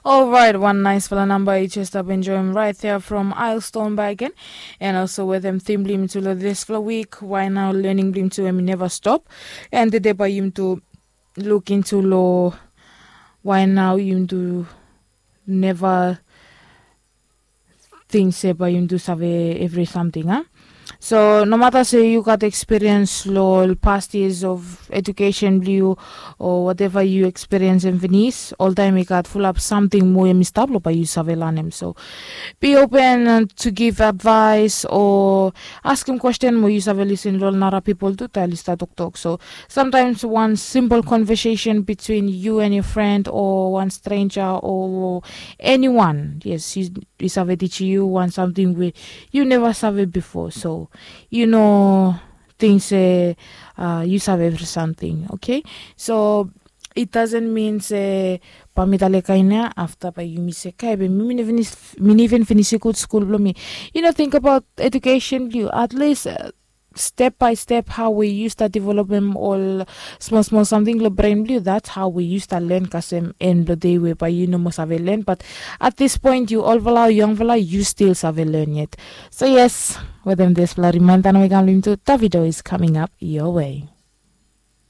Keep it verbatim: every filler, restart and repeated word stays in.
Alright, wan naisfala namba i jes stap enjoim right there from Ailston Bagen. And also wetem tim blong yumi tu long disfala wik, why now learning blong yumi tu em i neva stop. And tede bae yumi tu luk intu long why now yumi tu neva ting se bae yumi tu save evri samting a. So nomata se yu gat ekspiriens long past years of edukesen blong yu o wateva yu ekspiriensim finis, oltaem i gat fulap samting moa em i stap long bae yu save lanem. So be open to give advaes o askem kwesten mo yu save lisin long ol nara pipol tu taem oli stap toktok. So samtaems wan simpol konvesesen bitwin yu and yu fren o wan strenja o eniwan, yes, i save tijim yu wan samting we yu neva save bifo. So yu no ting se yu save evri samting, oke? So it dasen min se bae mi talem kaen ya afta bae yumi se kae be mi no even finisim gud skul blong mi. Yu no tingbaot edukesen blong yu at least step bae step hao we yu stap developem ol smol smol samting long bren blong yu, dats hao we yu stap len kasem en blong dei we bae yu no moa save len, bat at dis poen yu olfala o yangfala yu stil save len yet. So yes, wetem disfala rimaenda nao i kam long yumi tu, Davido is coming up your way.